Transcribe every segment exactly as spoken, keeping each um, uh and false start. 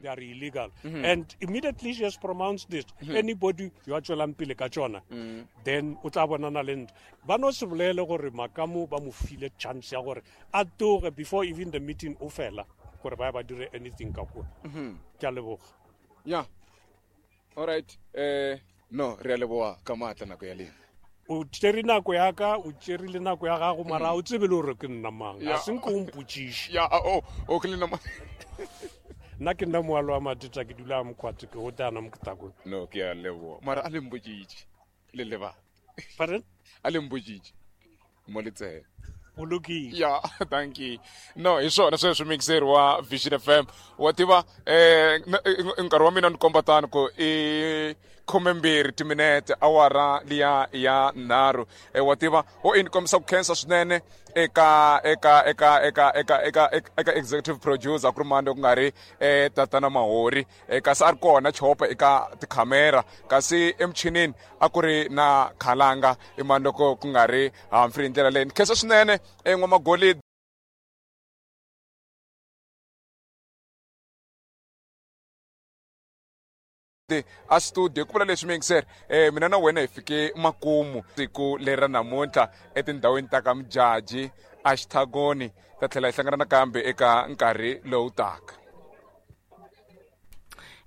They are illegal. And immediately she has pronounced this. Anybody yo a tswelang pele ka tsona, then o tla bonana le ntho. Ba no se bolele gore Makamo ba mo file chance ya gore a tloge before even the meeting o fela, gore ba ba dire anything ka kua. Ke a leboga. Yeah, all right, eh no, re a leboga ka maatla nako ya lena. O tsere nako ya ka, o tsere le nako ya gago, mara o tsebe le gore ke nna mang. A se nko o mpotsiše. Ya, o o ke le nna. Nna ke nna moalo wa Mateta, ke dula Mokgwatse, ke gotana Moketakone. No, ke a leboga, mara a le mpotsitše le leba. Pardon? A le mpotsitše mo letsele. O lokile. Ya, thank you. No, hi swona sweswo, mixer wa Vision F M, wa tiva eh nkarhi wa mina ni komba tani ku i khumembirhi timinete awara liya ya nharhu. eh, wa tiva o i ni kombisa ku khensa swinene eka eka eka eka eka eka eka executive producer ku ri mani ku nga ri eh tatana Mahori, eh, kasi a ri kona Chopa eka tikhamera, kasi emichinini a ku ri na Khalanga, i mani loko ku nga ri Humphrey. Hi ndlela leyi ni khensa swinene N'wamagolidi a studio. Ku vula leswi, miyingiseri, eh mina na wena hi fike makumu siku leri ra namuntlha etindhawini ta ka Mujaji a Xithagoni. Ta tlhela hi hlangana nakambe eka nkarhi lowu taka.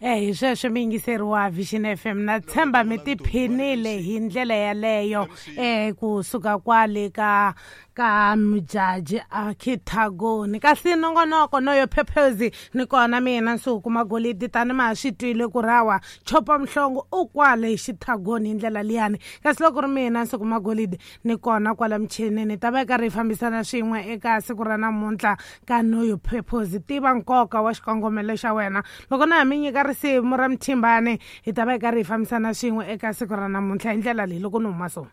Eh hi sweswo, miyingiseri wa Vision F M, na tshemba mi tiphinile hi ndlela yaleyo eh kusuka kwale ka ka Mujaji a Khithagoni, kasi nongonoko no yo phephezi ni kona mina Nsuku Magolidi. Tani ma swi twile ku rawa Chopa Mhlongo u kwale Xithagoni hi ndlela liyani, kasi loko ri mina Nsuku Magolidi ni kona kwala michinini, ta va karhi hi fambisana swin'we eka siku ra namuntlha ka Know Your Purpose, tiva nkoka wa xikongomelo xa wena. Loko na ha mi nyika risimu ra Mthimbani, hi ta va hi karhi hi fambisana swin'we eka siku ra namuntlha hi ndlela leyi loko ni huma so.